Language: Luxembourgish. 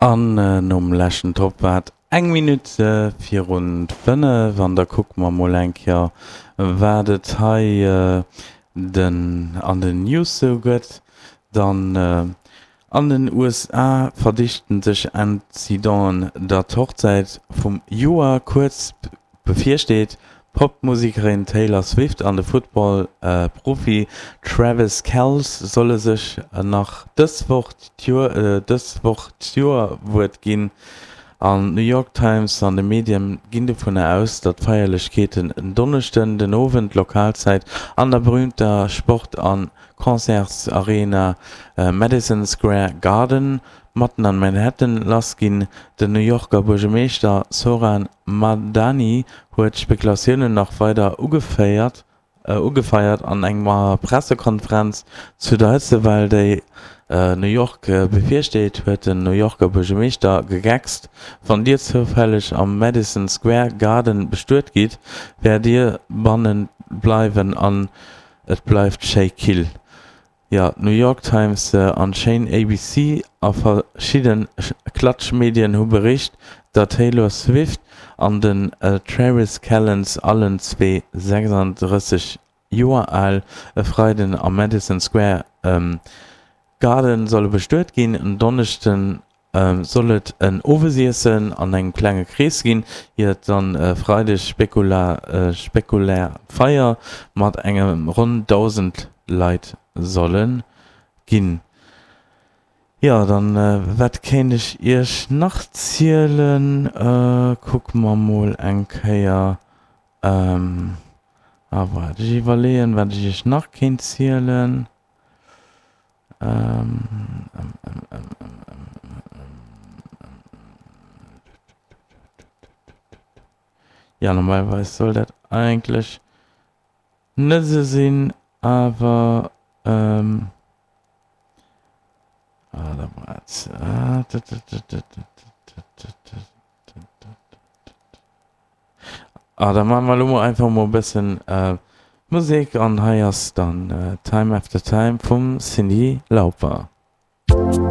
An nom leschten Topp war et eng Minutt virun 5 an da kucke mer mol eng Kéier wat et hei den an den News sou gëtt. Dann an den USA verdichten sech Incidenten, datt d'Hochzäit vum Joer kuerz bevirsteet. D'Pop-Musekerin Taylor Swift an de Football-Profi Travis Kelce solle sech nach dës Woch d'Joerwuert ginn. An d'New York Times an de Medien ginn dovunner aus, datt d'Feierlechkeeten en Donneschden den Owend Lokalzäit an der berüümter Sport a Concertsarena Madison Square Garden matten an Manhattan lass ginn. Den New Yorker Buergermeeschter Zohran Mamdani huet d'Spekulatiounen nach weider ugefeiert an enger Pressekonferenz zu der Hëtzewell, déi New York bevirsteet, huet den New Yorker Buergermeeschter gegeckst, Wann Dir zoufälleg am Madison Square Garden bestuet gitt, wäert Dir banne bleiwen an et bleift schéi kill. Jo, d'New York Times an d'Chaîne ABC a verschidde Klatschmedien hu bericht, datt d'Taylor Swift an den Travis Kelce, allen zwee 36 Joer al, e Freiden am Madison Square Garden solle bestuet ginn. En Donneschden Soll et en Owesiessen an engem klenge Krees ginn, ier et dann e Freideg spekulär Feier mat engem ronn 1.000 Leit solle ginn. Jo, dann wat kéint ech iech nach zielen? Kucke mer mol eng Kéier, ah waart, ech iwwerleeën wat ech iech nach kéint zielen. Ja, normalerweis soll dat eigentlech net esou sinn, awer ähm, ah, da waart. Ah, da maache mer elo mol einfach mol e bëssen Musek an hei ass dann Time After Time vum Cyndi Lauper.